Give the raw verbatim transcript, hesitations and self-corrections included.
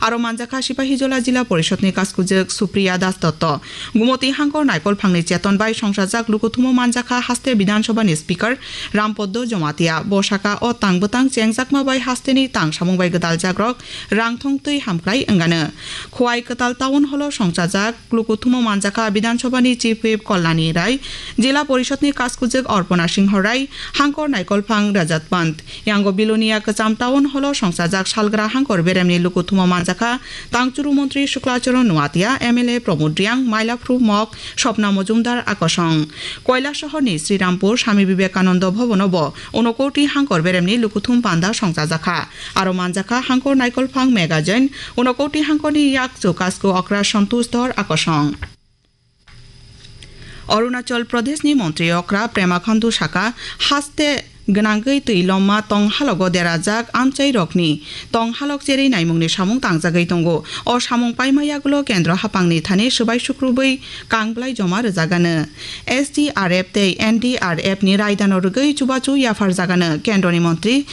Aro manjakha Sipahijola Jila Porishod ni Kaskujwk Supriya Das Dotto. Gumoti Hangkor Naikolphang ni Cheton bai Songsajak Lukuthumo manjakha Haste Bidhan Sabha ni Speaker Rampoddo Jomatia. Bo saka o tang bwtang chengjakma bai haste ni tang samung bai gwdaljakrok rangthong twi hamkrai wngano. Khowai Kwtal Town Hall o Songsajak Lukuthumo manjakha Bidhan Sabha ni Chief Whip Kalyani Rai, Jila Porishod ni Kaskujwk Arpana Singho Rai, Hangkor Naikolphang Rajat Pant. Yango Bilonia Kwcham Town Hall o Songsajak Salgra Hangkor Berem ni Lukuthumo manjakha Tangchuru Montri Shukla Charan Noatia, M L A Pramod Reang, Mailaphru Mok, Swapna Mojumdar Akosong. Koilasohor ni Srirampur Swami Vivekananda Bhavan o bo Unokoti Hangkor Berem ni Lukuthum Panda Songchajakha. Aro manjakha Hangkor Naikolphang Magazine, Unokoti Hangkor ni Yakchu Kasku Okra Santosh Dhar Akosong. Arunachal Pradesh ni Montri Okra Pema Khandu saka, haste gwnangwi twi lomma tong halogo derajak amchai rokni tong halok cherwi naimungni samung tangjagwi tongo. O samung paima yagulo kendro hapangni thani swbai sukrubwi kangblai joma rwjagano. S D R F tei N D R F ni raidano rwgwi chubachu yapharjagano kendroni montri